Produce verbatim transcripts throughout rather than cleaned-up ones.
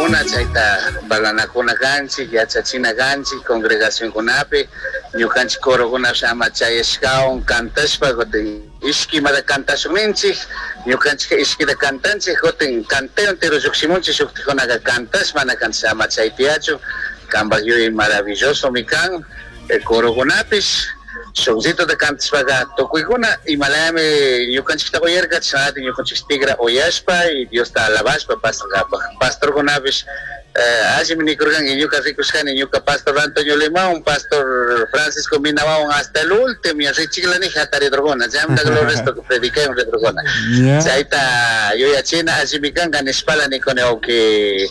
Pastorkuna chayta parlanakuna kanchik, yachachina kanchik congregacionkunapi, ñukanchik corokuna ama chayashkawan cantashpa kutin ishkimata cantashun ninchik, ñukanchik ishkita cantanchik, kutin canteo entero llukshimunchik, shuktikunaka cantash mana cantash ama chay tiyachu, kanpak yuyay maravilloso mi kan, corokunapish shukllituta cantashpaqa tukuykuna imalayami ñukanchikta uyarka chashnallata ñukanchik tigra uyashpa y Diosta alabashpa pasankapak. Pastorkunapish allimi nikurkanki ñuka rikushkani ñuka pastor Antonio Limón, pastor Francisco Minawawan hasta el último richiklani hataridurkuna, chaymantaka lo resto que predicayon ridurkuna. Chayta yuyachina allimi kanka nishpala nikuni wawki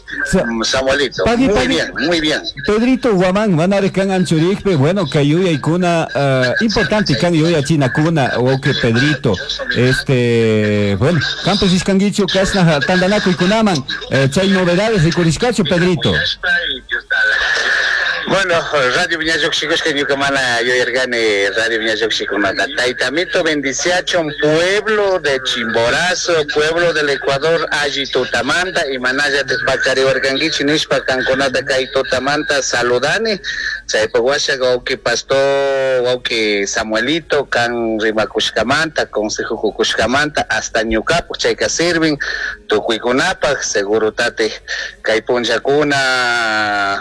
Samuelito. Pagui, Muy pagui. bien, muy bien. Pedrito Guamán, manarek kan anchurikpi, bueno, kay yuyaykuna uh, importante kan yuyachinakuna, wawqi Pedrito. Este, bueno, kanpish rishkankichu kashna tantanakuykunaman, eh, chay novedades rikurishkachu, Pedrito. Bueno, Radio Viña ñuka mana yuyarkani Radio Viña Llukshikunata. Taytamito bendiciachun pueblo de Chimborazo, pueblo del Ecuador, alli tutamanta, y manalla pacariwarkankichik nishpa kankunata kay tutamanta saludani. Chaypak washa wawqi pastor, wawqi Samuelito, kan rimakushkamanta, consejo kukushkamanta, hasta ñukapak chayka sirvin tukuykunapak, seguro tate kay punllakuna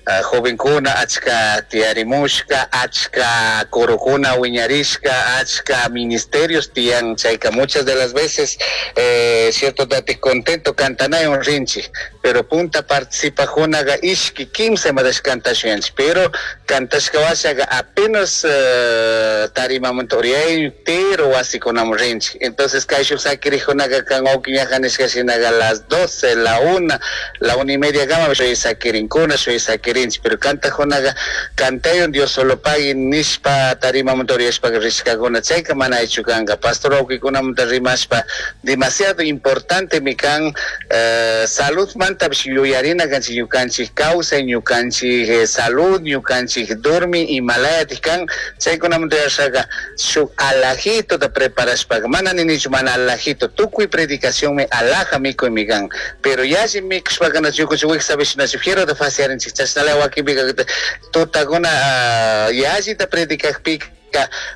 Uh, jovenkuna achka tiyarimushka, achka corokuna wiñarishka, achka ministerios tiyan chayka muchas de las veces eh, cierto date contento cantanayon rinchi, pero punta participajunaga ishki kimsa madash cantashuyanchik, pero cantashka washaga apenas uh, tarimamanta uriyay tero wasikunamun rinchik. Entonces kayshuk sakirijunaga kan wawkiñaja nishka shinaga las doce, la una, la una y media gama shuy sakirinkuna, shuy sakirinchik, pero cantajunaga cantayon Dios solo pagui nishpa tarimamanta uriyashpa rishkakuna, chayka mana hecho kanka. Pastor wawkikunamanta rimashpa demasiado importante mi kan, uh, salud mantapish yuyarina kanchik ñukanchik kawsay, ñukanchik eh, salud, ñukanchik dormi imalayatik kan, chaykunamanta yuyashaka shuk alajitota preparashpaka, mana ninichu mana alajito, tukuy predicacionmi alaja mikuy mi kan, pero yalli mikushpaka na ñukanchik wiksapish nachu fierota faciarinchik, chashnala wakinpika tutakuna uh, yallita predicakpika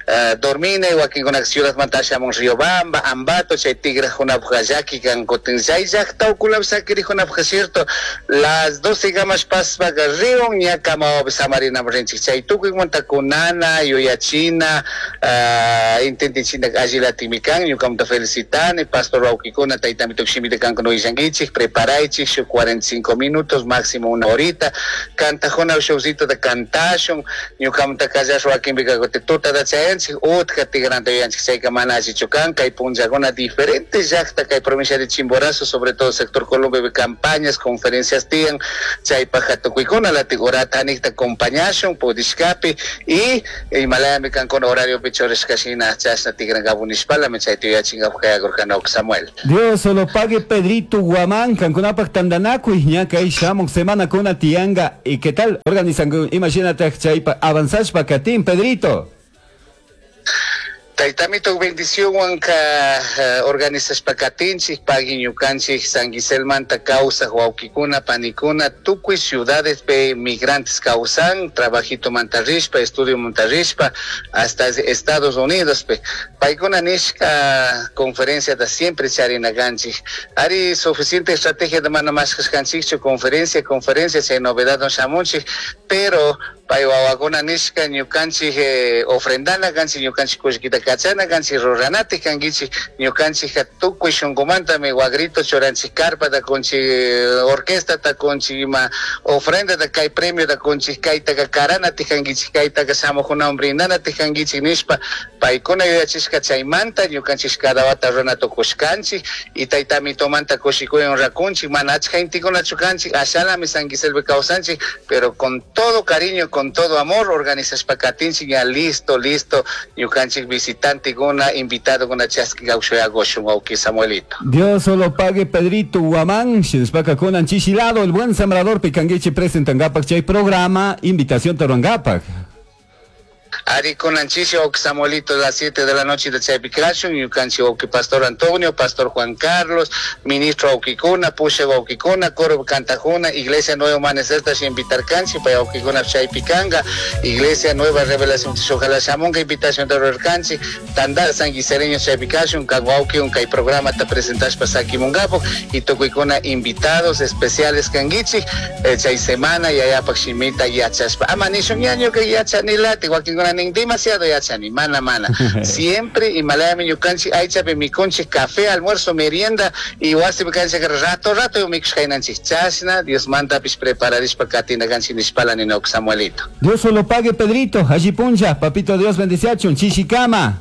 Uh, dormina wakinkuna ciudadmanta shamun Riobamba, Ambato, chay tigrajunapaj llaki kan kutin chay llaqta ukunapi sakirijunapaj cierto, las doce gamas paspaqa riun ña kamawapi samarinamun rinchik, chay tukuymunta kunana yuyachina uh, intentichina allilatimi kan, ñukamanta felicitani pastor wawkikuna taytamito shimita kankuna willankichik, preparaychik shuk cuarenta y cinco minutos máximo una horita, kantajuna shukcito kantashun, ñukamanta kallash wakinpika kutin tuta chayanchik utka tigranta yuyanchik, chayka mana allichu kan, kay punllakuna diferentes llaqta kay provincia de Chimborazo, sobre todo sector Colombia, campañas, conferencias tiyan, chaypaja tukuykuna latik horata anikta acompañashun pudishkapi y imalayami kankuna horario pichorishka shina chashna tigrankapu nishpalami chayta yuyachinkapu kayakurkani Samuel. Dios solo pague Pedrito Guamán, kankunapak tantanakuy ña kay shamuk semana kuna tiyanga, y qué tal organizan, imagínate chaypa avanzashpa katin Pedrito. Taytamito bendicionwanka uh, organizashpa katinchik pagui ñukanchik San Giselmanta kawsaj wawkikuna panikuna tukuy ciudades pe migrantes kawsan trabajito manta rishpa estudio manta rishpa hasta Estados Unidos pe paykuna nishka conferencia da siempre charina kanchik ari suficiente estrategia de mana mashkashkanchikchu conferencia conferencia chay novedad no shamunchik pero pay wawakuna nishka ñukanchik eh, ofrendana kanchik ñukanchik kullkita kachana kanchik ruranatik kankichik ñukanchik tukuy shunkumantami wagrito churanchik carpata kunchik orquestata kunchik ima ofrendata kay premiota kunchik kaytaka karanatik kankichik kaytaka shamukunawan brindanatik kankichik nishpa paykuna yuyachishka chaymanta ñukanchik cada wata runa tukushkanchik y taytamitomanta kushikuywan rakunchik mana achka intikunachu kanchik ashalami San Giselpi kawsanchik pero con todo cariño con todo amor organizashpa katinchik ya listo listo ñukanchik visitante kuna invitado kuna chaski gaushun wawqi Samuelito. Dios solo pague Pedrito Guamán, shinashpaka kunan chishilado el buen sembrador pikanguichi presentangapak chay programa invitación taruangapak. Ari kunanchishi wawki Samuelito las siete de la noche de chaypi kashun, ñukanchik wawki Pastor Antonio, Pastor Juan Carlos, Ministro wawkikuna, Pusha wawkikuna, coro kantajuna, Iglesia Nuevo Amanecer tash invitarkanchik, pay wawkikuna chaypi kanga, Iglesia Nueva Revelación ojalá shamunga invitación rurarkanchik, tandar sanguisereño chaypi kashun, kan wawki kay programa ta presentashpa sakimunkapuk y tukuykuna invitados especiales kankichik, eh, chay semana yayapak shimita yachashpa. Ama nishun ñañuka yachanilati, wakinkuna nin demasiado yachani, mana mana. Siempre imalayami ñukanchik aychapi mikunchik café, almuerzo, merienda y wasipi kanchik rato rato mikushkaynanchik chashna, Dios mandapish prepararishpa katina kanchik nishpala ninok Samuelito. Dios solo pague, Pedrito, allí puncha, papito Dios bendiciachun, chichicama.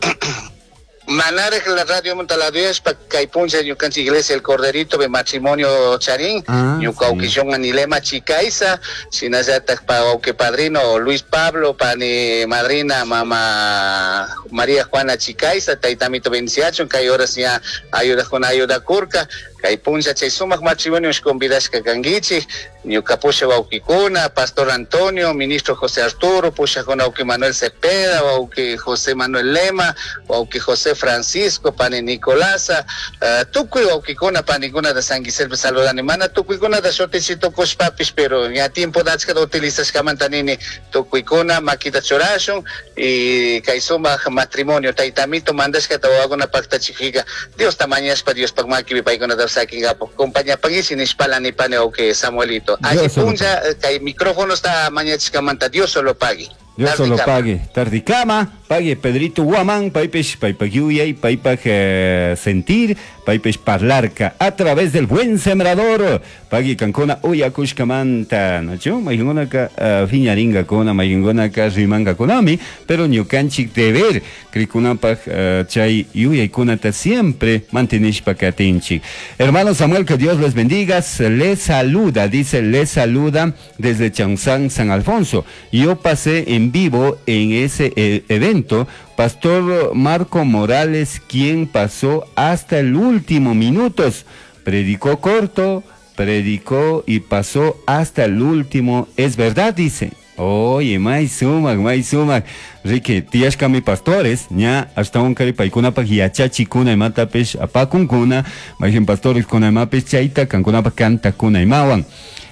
Manarek la radio montaladuyashpa kay puncha ñukanchik iglesia El Corderito de matrimonio charín, Ah, ñuka sí. wawkishun anilema chikaysa, shinallatak pa wawki padrino Luis Pablo, pani madrina mama María Juana Chicaiza, taytamito bendiciachun, kay horas ña ayudajuna ayudakurka, kay puncha chay sumak matrimonio convidashka kankichik, ñuka pusha wawkikuna, Pastor Antonio, Ministro José Arturo, pushakuna wawki Manuel Cepeda, wawki José Manuel Lema, wawki José Francisco, pani Nicolasa, uh, tukuy wawkikuna, panikuna de San Guiselpe saludani, mana tukuykuna da shutichito kushpapish, pero ña tiempo dachka da utilizashkamanta nini, tukuykuna makita churashun, y kay sumak matrimonio, taytamito mandashkata wawakuna paktachikika, Dios tamañashpa, Dios pak makipi paykunata sakingapo, compañapankichik nishpala nipani wawki Samuelito. Allí Dios solo puncha, kay micrófono está mañachishkamanta, Dios solo pague. Dios solo Tardikama. pague. Tardikama, pague Pedrito Guamán, paipesh, paipak yuyay, paipak eh, sentir, paipesh parlarca a través del buen sembrador. Pague kankuna uyakushkamanta, ¿no? Mayungunaka uh, fiñaringa kona, mayungunaka rimanga konami, pero ñukanchik deber, krikunapak uh, chay yuyaykunata siempre mantenishpa katinchik. Hermano Samuel, que Dios les bendiga, les saluda, dice, les saluda desde Chanzán, San Alfonso. Yo pasé en vivo en ese eh, evento, Pastor Marco Morales, quien pasó hasta el último minutos, predicó corto, predicó y pasó hasta el último, es verdad, dice. Oye, may sumak, may sumak. Ricky, tiyashka mi pastores, ña, hasta un kari paikuna pa yachachikuna imatapish apakunkuna, mayhin pastores kuna imapish chayta kankunapa kantakuna imawan.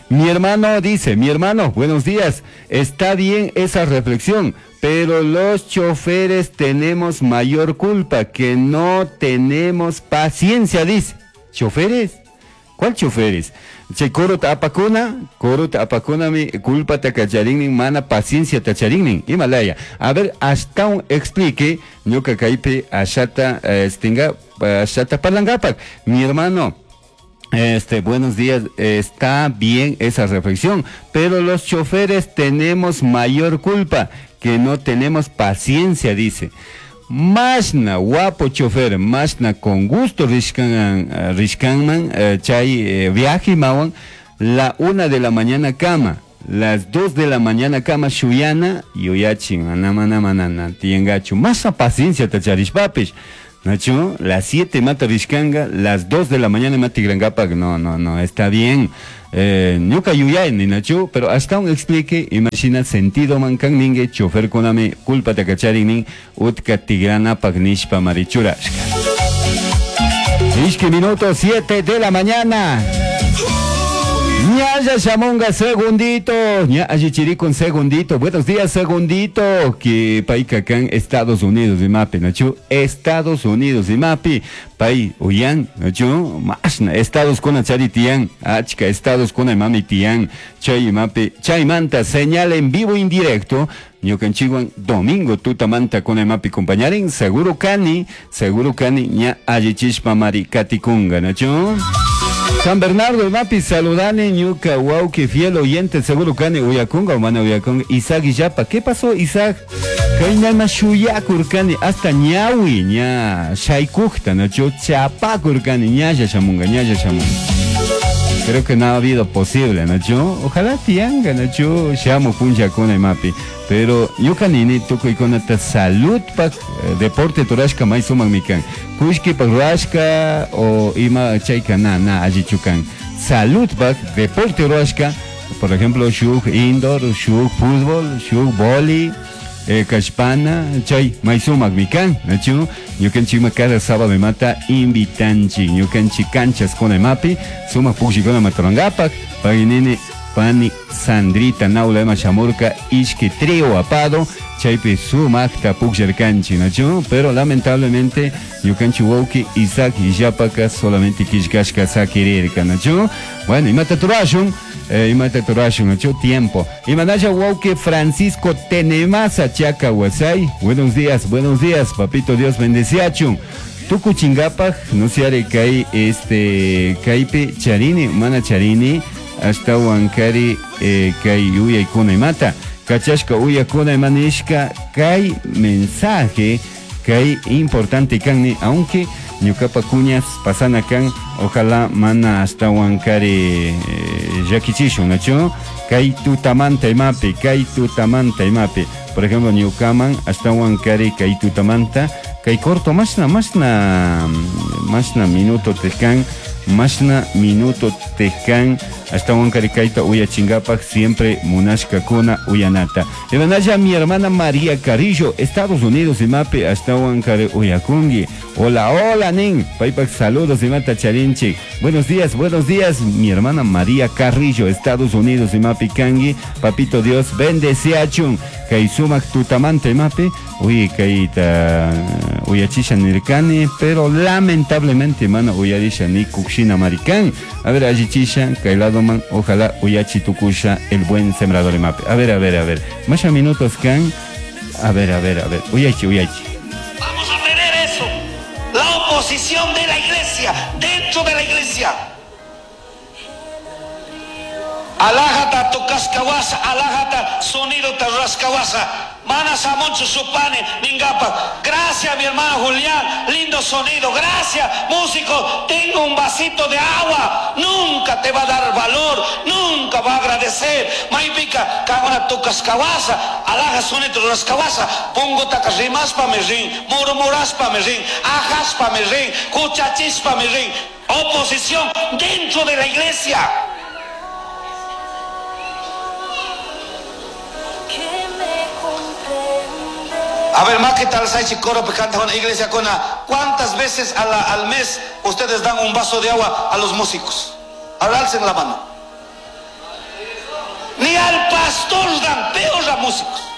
Mi hermano dice, mi hermano, buenos días, está bien esa reflexión, pero los choferes tenemos mayor culpa, que no tenemos paciencia, dice. ¿Choferes? ¿Cuál choferes? Che, coro apakuna, coro apakuna mi culpa tacacharinnin, mana paciencia tacharinnin, Himalaya. A ver, hasta un explique, ñuka kaypi ashata, eh, stinga, ashata parlangapak. Mi hermano, este, buenos días, está bien esa reflexión, pero los choferes tenemos mayor culpa, que no tenemos paciencia, dice. Mashna, guapo chofer, mashna con gusto rishkan, eh, rishkanman, eh, chay eh, viaje mawan, la una de la mañana cama, las dos de la mañana cama shuyana, yuyachin, anamana manana, tiengachu, masa paciencia tacharishpapish. Nacho, las siete mata rishkanga, las dos de la mañana mata grangapak, no, no, no, está bien. Eh, ñuka yuyay ni Nacho, pero hasta un explique, imagina sentido mankan ningue, chofer kunami, culpa takacharin nin, utka tigrana nishpa marichurashka. Ishki minuto siete de la mañana. Ñaya Shamonga, segundito. Ñaya Chirico, un segundito. Buenos días, segundito. Que país acá en Estados Unidos y mapi, Nacho. Estados Unidos y mapi. Pai, uyan, Nacho. Masna, Estados con charitian. Achka, Estados con mami tian. Chay mapi. Chay manta, señal en vivo indirecto. Ñukanchikwan domingo tutamanta con mapi compañaren. Seguro cani, seguro cani, ña allichishpa mari katikunga, Nacho. San Bernardo, mapi, saludane, ñuka, wauki, fiel oyente, seguro kani, uyakunga, humana uyakunga, Isaac y Yapa. ¿Qué pasó, Isaac? Kainama shuyakurkani, hasta ñawi, ña, shaykukta, nacho, chapakurkani, ñaya shamunga, ñaya shamunga. Creo que no ha habido posible, Nacho. Ojalá tianga, Nacho. Shamu puncha con mapi. Pero ñuka nini tukuy kunata salud pak eh, deporte turashka may sumak mikan. Kushki pak ruashka o ima chayka na na allichukan. Salud pak deporte ruashka. Por ejemplo, shuk indoor, shuk fútbol, shuk vóley. eh, kashpana chay may sumakmi kan nachu ñukanchikma cada sábado imata invitanchik ñukanchik canchas kuna imapi sumak pukllikuna matarangapak paginini pani Sandrita naula ima shamurka ishki trío apado chaypi sumakta pukllarkanchik nachu pero lamentablemente ñukanchik wawki Isaac Illapaka solamente killkashka sakirirka nachu bueno imata turashun eh, imata turashun nachu tiempo imanalla wawki Francisco Tenemasa Chaca Huasay buenos días buenos días papito Dios bendeciachun tukuchinkapaj no se kay este kaypi charini mana charini hasta wankari eh, kay yuyaykuna imata kachashka uyakuna imanishka kay mensaje kay importante kanni aunque ñukapa cuñas pasana kan ojalá mana hasta wankari eh, llakichishun nachu kay tutamanta imapi kay tutamanta imapi por ejemplo ñukaman hasta wankari kay tutamanta kay corto mashna mashna mashna minuto tekan mashna minuto tekan hasta wankari kayta uyachingapak siempre munashka kuna uyanata imanalla mi hermana María Carrillo Estados Unidos imapi hasta wankari uyakungi hola hola nin paypak saludos imata charinchik buenos días buenos días mi hermana María Carrillo Estados Unidos imapi kangi papito Dios bendeciachun kay sumak tutamanta imapi uy kayta uyachisha nirkani pero lamentablemente mana uyarisha ni kukshina marikan a ver allichisha kay lado man ojalá uyachi tukusha el buen sembrador imapi a ver a ver a ver masha minutos kan a ver a ver a ver uyachi uyachi Vamos a tener eso, la oposición de la iglesia, dentro de la iglesia. Alájata tocascahuasa, alájata sonido tarrascahuasa. Mana samoncho supane, ningapa. Gracias mi hermano Julián, lindo sonido. Gracias, músico. Tengo un vasito de agua. Nunca te va a dar valor, nunca va a agradecer. Maipica, cagona tocascahuasa, alaja sonido rascahuasa. Pongo tacarrimaspa me rin, murmuraspa me rin, ajaspa me rin, cuchachispa me rin. Oposición dentro de la iglesia. A ver, más que tal Saichi Coro canta una iglesia con ¿cuántas veces a la, al mes ustedes dan un vaso de agua a los músicos? Ahora alcen la mano. Ni al pastor dan, peor a músicos.